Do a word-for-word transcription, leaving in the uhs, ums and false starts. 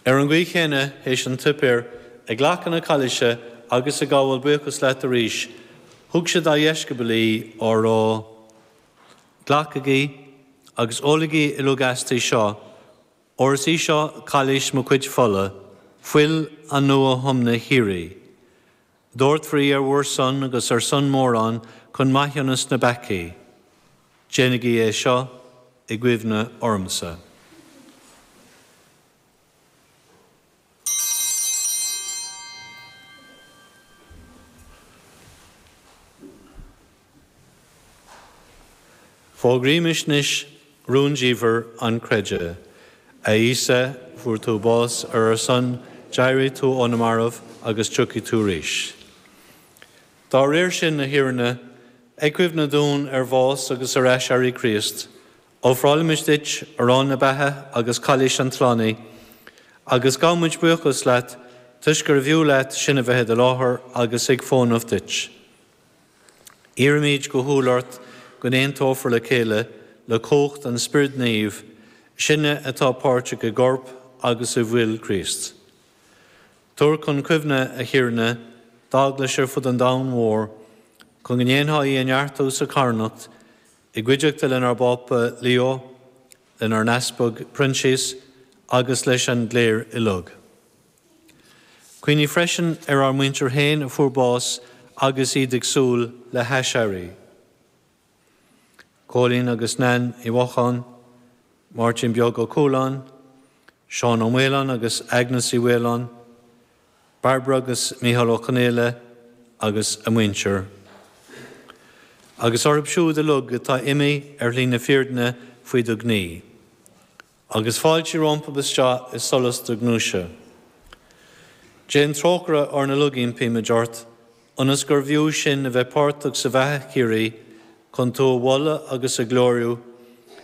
Ar an gcaoi chéanna théis an tsuipéir, ag glacadh na cailise agus ag gabháil buíochas leat arís, thug sé dá dheisceabail í á rá, Glacaigí agus ólaigí uilig aisti seo, óir is í seo cailís mo chuid fola, fuil an nua-thiomna shíoraí. Doirtfear í ar bhur son agus ar son mórán chun maithiúnas na bpeacaí. Déanaigí é seo i gcuimhne ormsa. Fógraímis anois rúndiamhair an chreidimh. A Íosa, fuair tú bás ar ár son, d'éirigh tú ó na mairbh agus tiocfaidh tú arís. Dá réir sin, a Thiarna, ag cuimhneamh dúinn ar bhás agus ar aiséirí Chríost, ofráilimid duit arán na beatha agus cailís an tslánaithe, agus gabhaimid buíochas leat toisc gurbh fhiú leat sinn a bheith i do láthair agus ag fónamh duit. Iarraimid go humhal ort go n-aontófar le chéile le cumhacht an Spioraid Naoimh, sinne atá páirteach i gcorp agus i bhfuil Chríost. Tabhair chun cuimhne, a Thiarna, d'eaglais ar fud an domhain mhóir, chun go ndéanfá í a neartú sa charthanacht, i gcuideachta lenár bPápa Leo, lenár n-easpag Proinsias agus leis an gcléir uilig. Cuimhnigh freisin ar ár muintir féin a fuair bás agus iad ag súil le haiséirí. Cóilín agus Nan Uí Mhocháin, Máirtín Beag Ó Cualáin, Seán Ó Maoláin agus Agnes Uí Mhaoláin, Barbara agus Mícheál Ó Conaola agus a muintir. Agus orthu siúd uilig atá imithe ar shlí na fírinne faoi do ghnaoi. Agus fáiltigh rompu isteach i solas do ghnúise. Déan trócaire orainn uilig, impímid ort, ionas gurbh fhiú sinn a bheith páirteach sa bheatha shíoraí, chun tú a mholadh agus a ghlóiriú